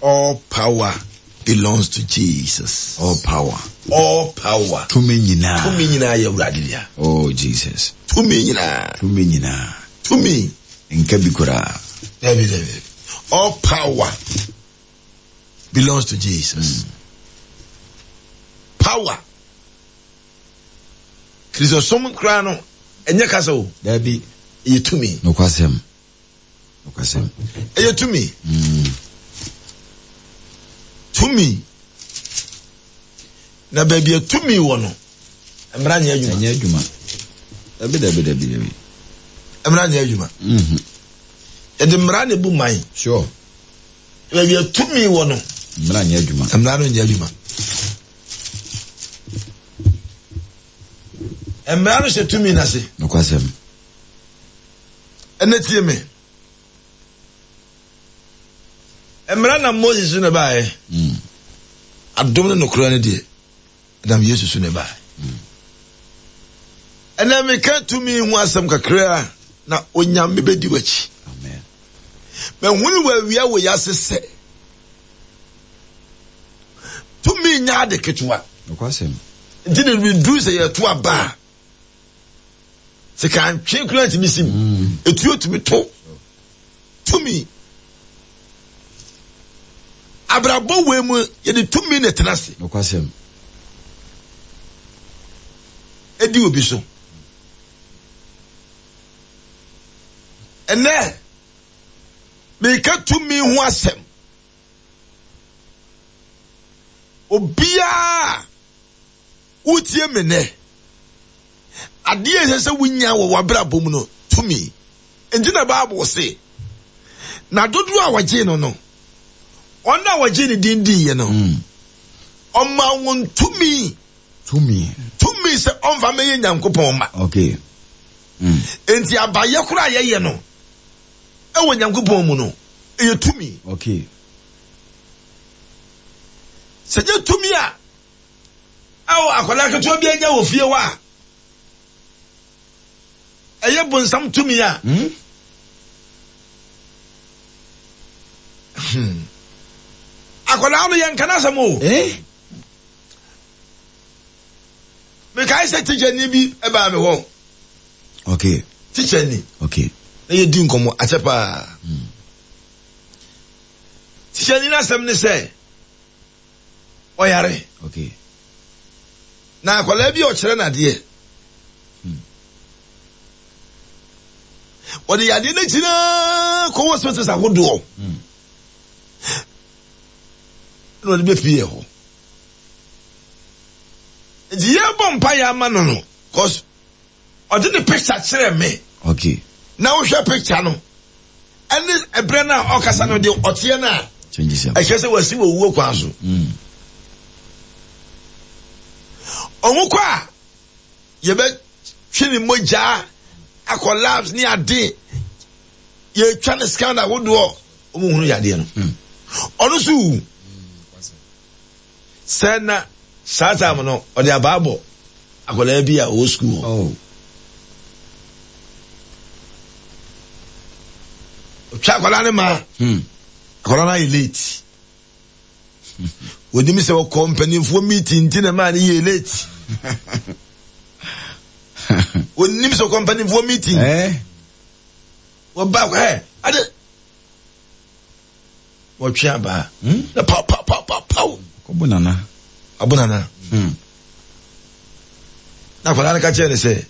All power belongs to Jesus. All power. All power. Tumi nyinaa. Tumi nyinaa yɛ Awurade dea. Oh Jesus. Tumi nyinaa. Tumi nyinaa. Tumi. Nka bi koraa. Dabi dabi. All power belongs to Jesus. Power. Kristosom koraa no, ɛnyɛ kasa o. Dabi. Ɛyɛ tumi. Nokwasɛm. Nokwasɛm. Ɛyɛ tumi. Tumi. Na baabi a tumi wɔ no, mmara nyɛ adwuma. Ɛnyɛ adwuma. Dabi dabi dabi dabi. Mmara nyɛ adwuma. Yɛde mmara na ebu man. Sure. Baabi a tumi wɔ no. Mmara nyɛ adwuma. Mmara no nyɛ adwuma. Mmara no hyɛ tumi no ase. Nokwasɛm. Ɛnɛ tie me. Mmara nam Moses so na ɛbaeɛ. Adom ne nokorɛ no deɛ, ɛnam Yesu so na ɛbaeɛ. Ɛnɛ meka tumi ho asɛm kakra na Onyame bɛdi w'akyi. Mahunu wɔ awia wɔ yase sɛ tumi nyɛ ade ketewa. Nti na meduru sɛ yɛto aba a, Sika ntwe koraa ntumi sim. Etuo tumi to. Tumi. Abrabɔ wei mu yɛde tumi na ɛtena ase. Nokwasɛm. Edi obi so. Ɛnɛ, meka tumi ho asɛm. Obiara wotie me nnɛ, adeɛ a ɛsɛ sɛ wonya wɔ w'abrabɔ mu no, tumi. Nti na Bible se, na dodoɔ a wɔgyee no no, wɔn a wɔgyee ne din diiɛ no, ɔma wɔn tumi. Tumi. Tumi sɛ ɔmfa mɛyɛ Nyankopɔn mma. Okay. Nti abayɛ koraa a yɛyɛ no ɛwɔ Nyankopɔn mu no, ɛyɛ tumi. Okay. Sɛ nyɛ tumi a ɛwɔ akwadaa ketewa bi anya wɔ fie hɔ a, ɛyɛ bonsam tumi a. Akwadaa no yɛnka n'asɛm o. Eh? Mekae sɛ tikyani bi baa me hɔ. Okay. Tikyani. Okay. Na yɛdi nkɔmmɔ akyɛ paa. Tikyani no asɛm ne sɛ ɔyare. Okay. Na akwadaa bi a ɔkyerɛ no adeɛ. Ɔde yadeɛ no akyi naa kɔ hospitals ahodoɔ. Na ɔde bɛpie hɔ. Nti yɛbɔ mpaeɛ ama no no, cause ɔde ne picture kyerɛ me. Okay. Na wohwɛ picture no, ɛne ɛberɛ no a ɔkasa no deɛ ɔteɛ no a, ɛkyerɛ sɛ wasi wɔ wuo kwan so. Ɔmo kɔ a, yɛbɛtwe ne mogya akɔ labs ne ade, yɛtwa ne scan ahodoɔ, ɔmo hunu yadeɛ no. Ɔno nso wu. Sɛ na saa time no ɔde abaa bɔ akwadaa bi a ɔwɔ sukuu hɔ. Oh. Ɔtwa akwadaa no ma. Akwadaa no ayɛ late. Onim sɛ ɔkɔ mpanimfoɔ meeting nti na maa no yɛ late. Onim sɛ ɔkɔ mpanimfoɔ meeting. Eh? Wɔba akɔ ɛ ade. Wɔtwe abaa. Na paw paw paw paw paw. Ɔbo nana. Abo nana. Na akwadaa no ka kyerɛ no sɛ,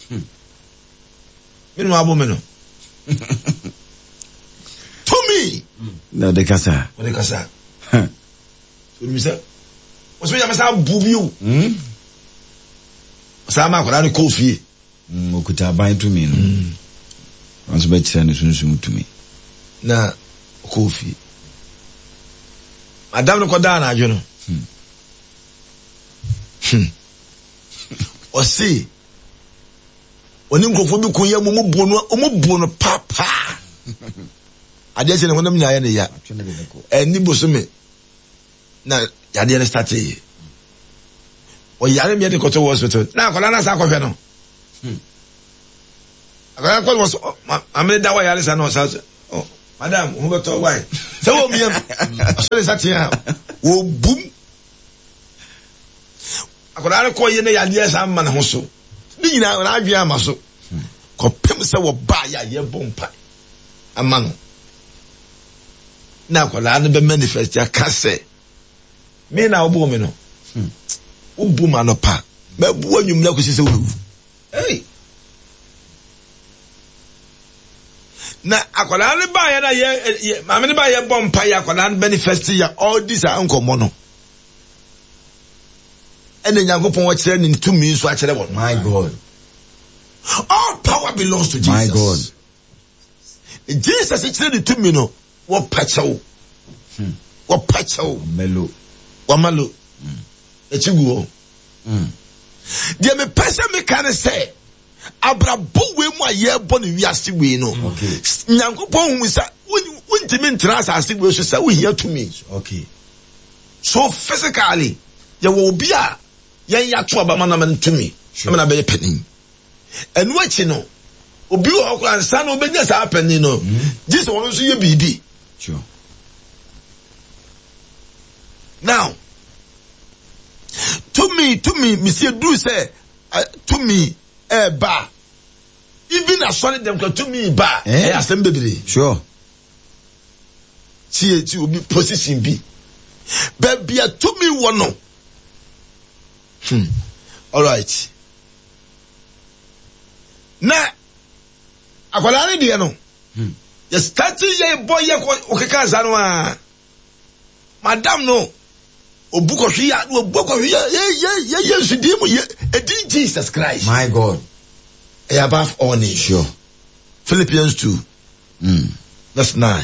me na wabo me no. Tumi. Na ɔde kasa. Ɔde kasa. Onim sɛ ɔsɛ nyame sɛ abo bi o. Ɔsan ma akwadaa no kɔɔ fie. Ɔkuta aban tumi no. Ɔno nso bɛkyerɛ no sunsum tumi. Na ɔkɔɔ fie. Madam no kɔdaa anadwo no. Ɔse ɔne nkurɔfoɔ bi ko yɛ mu ɔmo buo no ɔmo buo no paapaa. Adeɛ kyɛ ne honam nyinaa yɛ ne ya. Ɛni bosome na yadeɛ no startee. Ɔyare mmea de kɔtɔ wɔ hospital. Na akwadaa no asa akɔhwɛ no. Akwadaa no kɔ no wɔ so maame no da hɔ yare sa na ɔsa so. Madam, wo ho bɛtɔ why? Sɛ wɔ miam, ɔsɔ ne nsa tea a, wɔbum. Akwadaa no kɔ yɛ ne yadeɛ saa ma ne ho so. Ne nyinaa n'adwene ama so. Kɔpem sɛ wɔbaa yɛ a yɛbɔ mpa ama no. Na akwadaa no bɛ manifest aka sɛ, me na wobɔɔ me no. Wobu ma no pa. Mɛbu anwummerɛ kɔsi sɛ wobɛwu. Hey! Na akwadaa no baeɛ na yɛ yɛ maame no baeɛ bɔ mpa yɛ akwadaa no manifest yɛ ɔredi saa nkɔmmɔ no. Ɛna Nyankopɔn ɔkyerɛ ne tumi nso akyerɛ wɔn. My God. All power belongs to Jesus. My God. Jesus kyerɛ ne tumi no wɔpa kyɛw. Hmm. Wɔpa kyɛw. Melo. Wɔmalo. Hmm. Akyi gu hɔ. Hmm. Deɛ mepɛ sɛ meka ne sɛ abrabɔ wei mu a yɛrebɔ no wiase wei no nyankopɔn hu sɛ wontumi ntena asase wei so sɛ wohia tumi okay. so physically yɛwɔ obi a yɛn yɛato aba ma nama no tumi ama no abɛyɛ panin ɛno akyi no obi wɔ hɔ koraa nsa na obɛnya saa panin no hmm. gye sɛ wɔn nso yɛ biribi now tumi tumi mesi eduru sɛ tumi ɛɛba even asɔre dɛm kora tumi ba eh? ɛyɛ asɛm bebree sure tie ti obi position bi baabi a tumi wɔ no hmm alright na akwadaa ne deɛ no hmm. yɛ start yɛ bɔ yɛ kɔ ɔkeka nsa no aa. Madam no, obu kɔhwe ya, na obu kɔhwe ya, ye ye ye Yesu din mu ye, edin Jesus Christ. My God. Ɛyɛ above all names. Sure. Philippians 2, mm. verse 9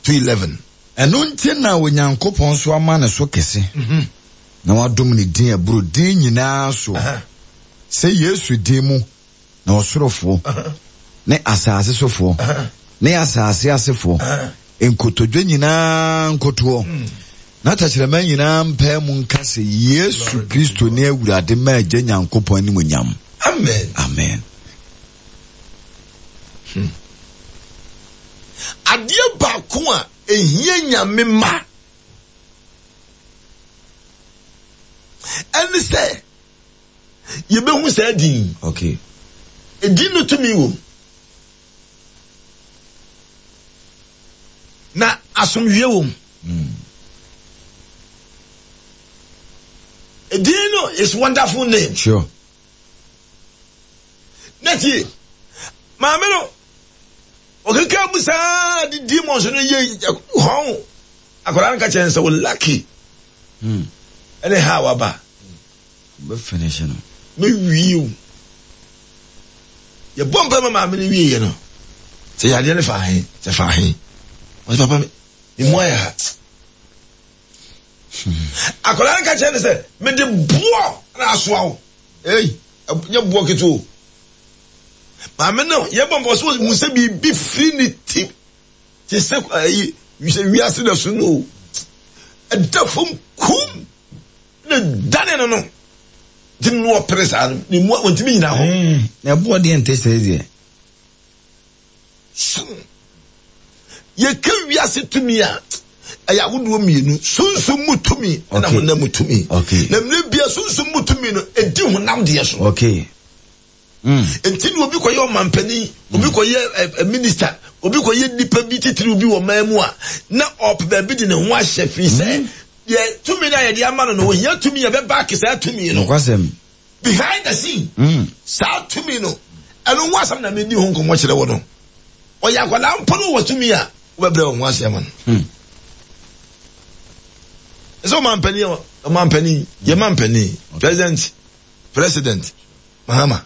to 11. Ɛno nti na Onyankopɔn nso ama ne so kɛse, mm -hmm. na wadom ne din ɛboro din nyinaa soɔ, uh -huh. sɛ Yesu din mu na ɔsorofoɔ ne asase sofoɔ ne asase asefoɔ nkotodwe nyinaa nkotoɔ na tɛkyerɛma nyinaa mpae mu nka sɛ Yesu Kristo ne Awurade ma Agya Nyankopɔn animuonyam. Amen. Amen. Hmm. Adeɛ baako a ehia nyame ma ɛne sɛ yɛbɛhu saa din yi. Okay. Edin no tumi wom. Na asomdwie wom. Mm. Edin no is wonderful name. Sure. Na tie, maame no, ɔkeka mu saa de demons no yɛ hɔn. Akwadaa no ka kyerɛ no sɛ wo lucky. Mm. Ɛne ha waba. Wobɛ finish no. Me wie o. Yɛbɔ mpa ma maame no wie yɛ no. Sɛ yadeɛ no fa he, sɛ fa he. Ɔsɛ papa me, me mu ayɛ ha. Akwadaa no ka kyerɛ no sɛ, mede boɔ na asoa wo. Ei, nyɛ boɔ ketewa o. Maame no, yɛbɔ mpa ɔsɛ ɔhu sɛ biribi firi ne ti te sɛ ayi, sɛ wiase na so no o. Ɛda fam kum. Ne dane no no nti no ɔpere saa no ne mu ɔntumi nyina hɔ. Na ɛboɔ deɛ nte sɛɛ deɛ. Sum yɛka wiase tumi a ɛyɛ ahodoɔ mmienu sunsum mu tumi ɛna honam mu tumi na mmerɛ bia sunsum mu tumi no ɛdi honam deɛ so. Okay. Mm. Nti na obi kɔyɛ ɔmampanin, obi mm. kɔyɛ ɛ eh, minista, obi kɔyɛ nipa bi titiriw bi wɔ man mu a, na ɔpɛ baabi de ne ho ahyɛ firi sɛ mm. deɛ tumi no a yɛde ama no no, ohia tumi a ɛbɛbaake saa tumi no. Nokwasɛm. Behind the scene. Mm. Saa tumi no, ɛno ho asɛm na medi ho nkɔmmɔ kyerɛ wɔ no. Ɔyɛ akwadaa mpo no wɔ tumi a, wobɛbrɛ wɔn ho ase ama no. Mm. Ɛsɛ ɔmampanin, ɔmampanin, yɛ mampanin, president, president. Mahama.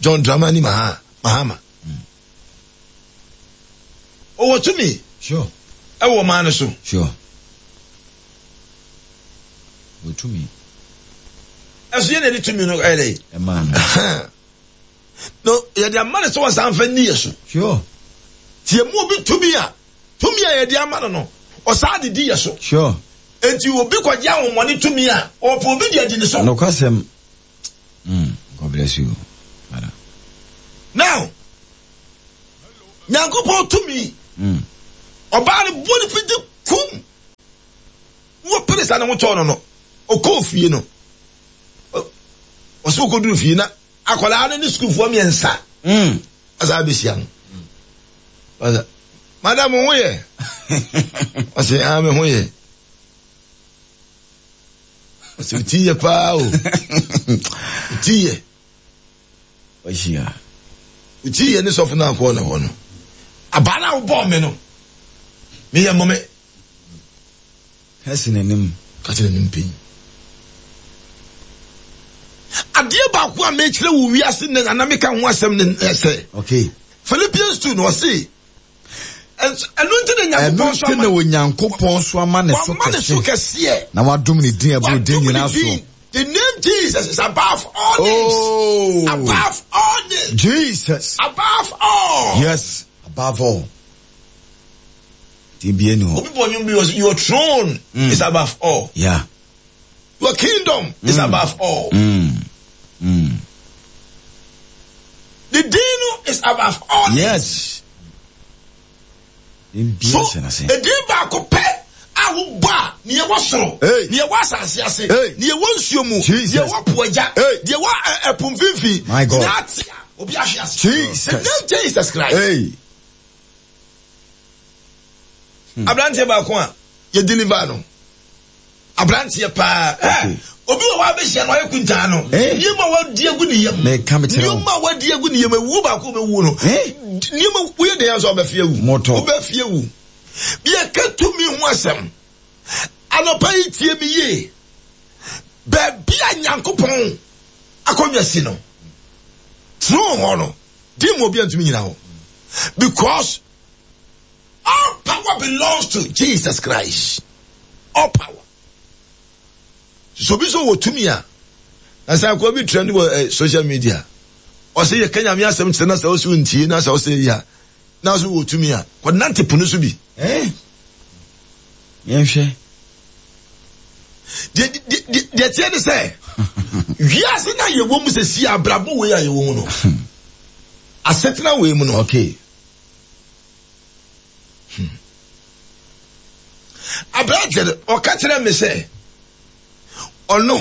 John Dramani Maha, Mahama. Ɔwɔ tumi. Sure. Ɛwɔ ɔman no so. Sure. Ɔwɔ tumi. Ɛso yɛ na ɛde tumi no ɛyɛ dɛ. Ɛmaa no. No, yɛde ama no sɛ wɔsan fa nni yɛ so. Sure. Ti emu obi tumi a, tumi a yɛde ama no no, ɔsan de di yɛ so. Sure. Enti obi kɔgye ahomɔne tumi a, ɔpɛ obi de adi ne so. Nokwasɛm. Mm, God bless you, Father. Now, Nyankopɔn tumi. Ɔbaa no bɔ ne fiti kum. Wɔpere sa ne ho tɔɔ no no, ɔkɔɔ fie no. Ɔsɛ ɔkɔduru fie na akwadaa no ne sukuufoɔ mmiɛnsa asa abɛhyia no. Ɔsɛ, madam ho yɛ? Ɔsɛ, ah, me ho yɛ. Ɔsɛ, ti yɛ paa o. Ti yɛ. Wahyia. Ti yɛ ne sɔfo no akɔɔ ne hɔ no. Abaa no a wobɔɔ me no, meyɛ mmɔ me. Ka si n'anim. Ka si n'anim pɛn. Adeɛ baako a mekyerɛ wo wiase nnɛ na na meka ho asɛm ne sɛ. Okay. Philippians 2 na ɔse ɛno nti na Nyankopɔn so ama na Onyankopɔn so ama ne so kɛse. so kɛseɛ. Na wadom ne din ɛboro din nyinaa so. The name Jesus is above all names. Oh. Above all names. Jesus. Above all. Yes, above all. Din bi ni hɔ. Obi bɔ nnwom bi wɔ your throne mm. is above all. Yeah. Your kingdom mm. is above all. Mm. Mm. The din no is above all. Yes. So edin baako pɛ a wobɔ a nea ɛwɔ soro, nea ɛwɔ asase ase, nea ɛwɔ nsuo mu, nea ɛwɔ po agya, nea ɛwɔ ɛpo mfimfini, nyinaa te a obi ahwe ase. Jesus. The name Jesus Christ. Hey. Hmm. Aberanteɛ baako a yɛ deliver no. Aberanteɛ paa. Okay. Obi wɔ hɔ abɛhyia no ɔyɛ kuntaa no. Nneɛma a wadi agu ne yam. Nneɛma a wadi agu ne yam ewuo baako bɛwu no. Nneɛma woyɛ den asɔ ɔbɛfie awu. Wobɛfie awu. Yɛka tumi ho asɛm. Anɔpa yi tie me yie. Baabi a Nyankopɔn akonnwa si no. Throne hɔ no. Di mu obi antumi nyina hɔ. Because all power belongs to Jesus Christ. All power. So obi so wɔ tumi a, na sɛ akɔ bi trend wɔ eh, social media. Ɔsɛ yɛ kanya mi asɛm kyerɛ na sɛ ɔsɛ ntie na sɛ ɔsɛ ya. Na ɔsɛ wɔ tumi a, kɔ nante pono so bi. Eh? Yɛnhwɛ. Deɛ teɛ ne sɛ, wiase na yɛwɔ mu sɛ si abrabɔ wei a yɛwɔ mu no. Asetena wei mu no. Okay. Hmm. Aberanteɛ no, ɔka kyerɛ me sɛ ɔno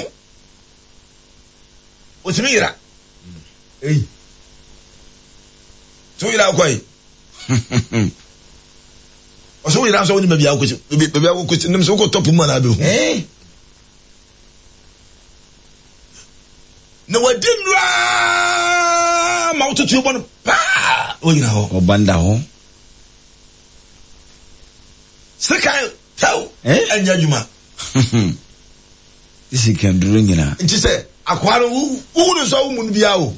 ɔtumi yera. Ei. So woyera wokɔ yi? Ɔsɛ woyera nso wonim baabi a wokɔsi baabi a wokɔsi nim sɛ wokɔtɔ po mu anaa bɛhu. Eh? Na wadi nnura ma wototo bɔ no paa wogyina hɔ. Ɔba nda hɔ. Sekan tɛw ɛnyɛ adwuma. Sikanduro nyinaa. Nti sɛ akoa no wohu no nso a womu no biara o.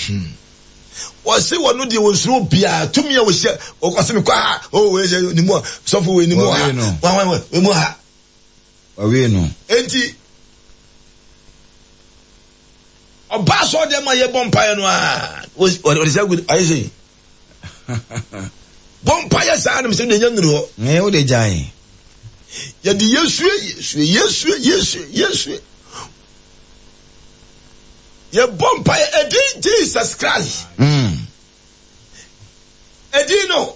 Hmm. Wɔse wɔno deɛ wɔnsuro obiara tumi a wɔhyɛ wɔse mekɔ ha oh wei sɛ ne mu a sɔfo wei ne mu ha wɔn wɔn wei mu ha. Wɔwie no. Enti ɔbaa sɔ deɛ ma yɛbɔ mpaeɛ no a wɔde sɛ agu ayɛ sɛ bɔ mpaeɛ saa na mesɛ deɛ nya nnuru hɔ. Ne wo de gyae. Yɛde yɛsue yɛsue yɛsue yɛsue yɛsue. Yɛbɔ mpaeɛ ɛdin Jesus Christ. Mm. Ɛdin no,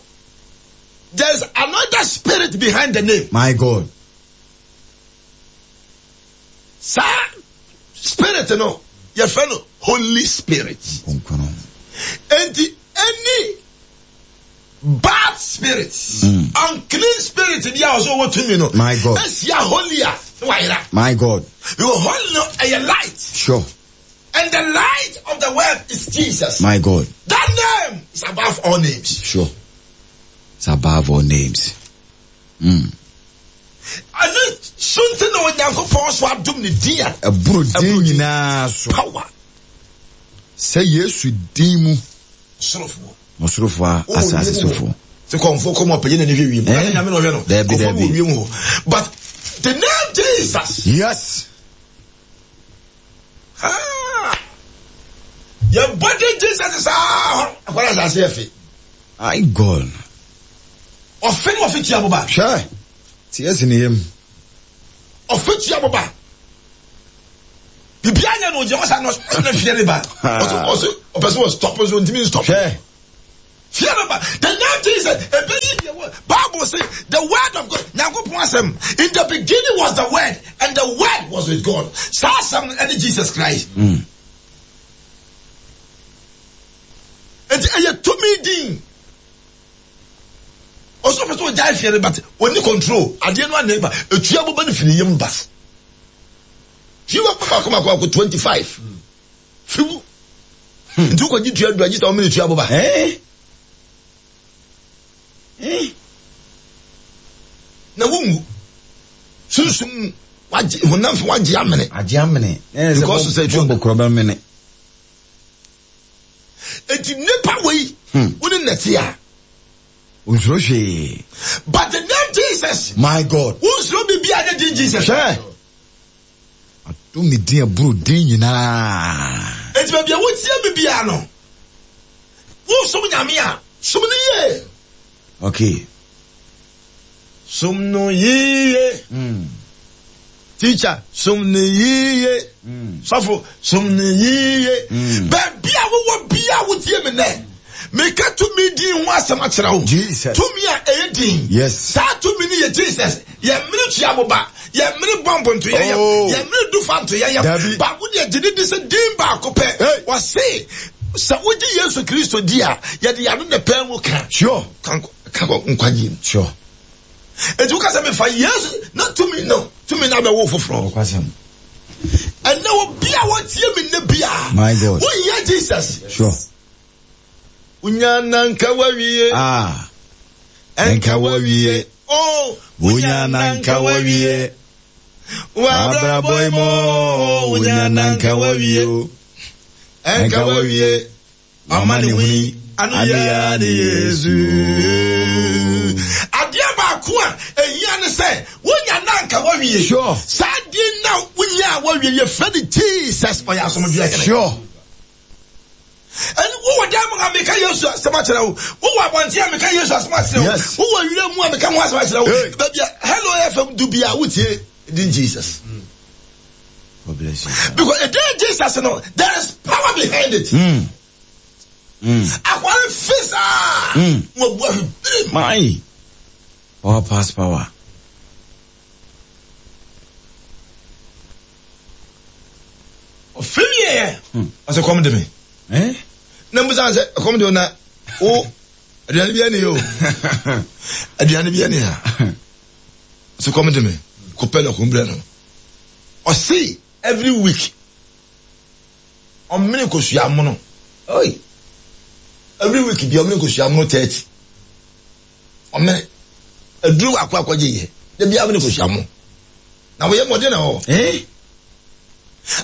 there's another spirit behind the name. My God. Saa spirit no, yɛfrɛ no Holy Spirit. Enti any bad spirit, mm. unclean spirit bi a ɔsɛ ɔwɔ tumi no, My God. esia holy a na wayera. My God. Because holy no ɛyɛ light. Sure. And the light of the world is Jesus. My God. That name is above all names. Sure. It's above all names. Mm. Ɛno so nti na Onyankopɔn so adom ne din a ɛboro din nyinaa so. Power. Sɛ Yesu din mu. Sorofoɔ. Ɔsorofoɔ a asase sofoɔ. Sɛ kɔnfoɔ kɔm ɔpɛgye n'ani hwɛ wiem. Eh? Nyame na ɔhwɛ no. Dabi dabi. Kɔnfoɔ wɔ wiem hɔ. But the name Jesus. Yes. Ah. Yɛbɔ din Jesus saa hɔ. Akɔla asase yɛ fe. My God. Ɔfe ne ɔfe tua boba. ɔfe Hwɛ. Teɛ si ne yam. tua boba. Biribiara nyɛ no ogyina hɔ saa na ɔsɛ fie ne ba. Ɔsɛ ɔsɛ ɔpɛ sɛ ɔstop nso ntumi nstop. Hwɛ. Fie no ba. The name Jesus ebeyi deɛ wɔ Bible say the word of God Nyankopɔn asɛm in the beginning was the word and the word was with God. Saa asɛm no ɛne Jesus Christ. Mm. Nti ɛyɛ tumi din. Ɔsɛ ɔpɛ sɛ ɔgyae fie no but ɔni control adeɛ no anɛ ba etua boba no firi yam ba. Fie wɔ baako baako baako 25 fi mu. Nti wokɔgye tua du agye sɛ wɔmene tua boba. Eh? Eh? Na wonwu. Sunsum mu wagye honam fo wagye amene. Agye amene. Because sɛ tua bɔkorɔ bɛmene. Enti nipa wei hmm. wo ne nɛte a. Onsuro hwee. But the name Jesus. My God. Wonsuro biribi a ne din Jesus. Hwɛ. Adom ne din aburo din nyinaa. Enti baabi a wotie me biara no, wosom Nyame a, som no yie. Okay. Som no yiye. Mm. Teacher, som no yiye. Mm. Sɔfo, som no yiye. Mm. Baabi a wowɔ bia wotie me nɛ. Meka tumi din ho asɛm akyerɛ wo. Jesus. Tumi a ɛyɛ din. Yes. Saa tumi no yɛ Jesus. Yɛmmere tua mo ba. Yɛmmere bɔmbo nto yɛyam. Oh. Yɛmmere dufa nto yɛyam. Dabi. Baako deɛ gye ne di sɛ din baako pɛ. Hey. Wɔse sɛ wogye Yesu Kristo di a, yɛde yɛn ano na pɛn mu ka. Sure. Ka kɔ nkwagye mu. Sure. Enti woka sɛ mefa Yesu na tumi no tumi no abɛwo foforɔ. Ɔkwasɛm. Ɛnɛ obi a wɔtie me nnɛ bia. My God. Wohia Jesus. Sure. Wonya na nka wawie. Ah. Nka wawie. Oh. Wonya na nka wawie. Wabrabɔ yi mu. Wonya na nka wawie. Nka wawie. Amanehunu ano yɛ ne Yesu. Adeɛ baako a ehia ne sɛ wonya na nka wawie. Sure. Saa adeɛ na wonya a wawie yɛfrɛ no Jesus ɔyɛ asomdwoeɛ hene. Sure. Ɛne wowɔ dan mu a meka Yesu asɛm akyerɛ wo. Wowɔ abɔnten a meka Yesu asɛm akyerɛ wo. Yes. Wowɔ wira mu a meka ho asɛm akyerɛ wo. Hey. Baabi a Hello FM du bi a wotie din Jesus. God bless you. Because the day Jesus no, there is power behind it. Mm. Mm. Akwari fi saa. Mm. Mo bu afi birim. My. Power pass power. Ɔfi wie yɛ. Ɔsɛ kɔm de me. Eh? Na mbusa sɛ kɔm de o na o aduane bi ani o. Aduane bi ani ha. Ɔsɛ kɔm de me. Kɔpɛ lɔkun brɛ no. Ɔsi every week ɔmene kosua mono. Oi. Every week bi ɔmene kosua mono 30. Ɔmene aduru baako akɔgye yɛ. Da bi amene kosua mo. Na wɔyɛ mmɔden na hɔ. Eh?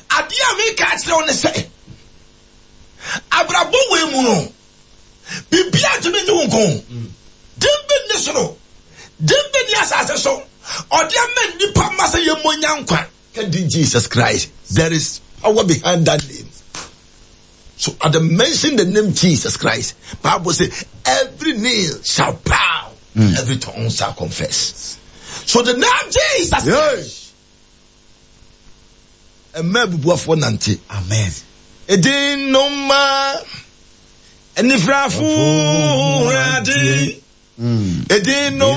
Adeɛ a meka akyerɛ wo ne sɛ abrabɔ wei mu no biribiara ntumi nye wo nko. Din bi nni soro, din bi nni asase so. Ɔde ama nnipa mma sɛ yɛmmɔ nya nkwa. Ka din Jesus Christ. There is power behind that name. So at the mention the name Jesus Christ, Bible say every knee shall bow, every tongue shall confess. So the name Jesus Yes. Ɛmma abubuafoɔ nante. Amen. Edin no ma anifirafoɔ ade. Edin no.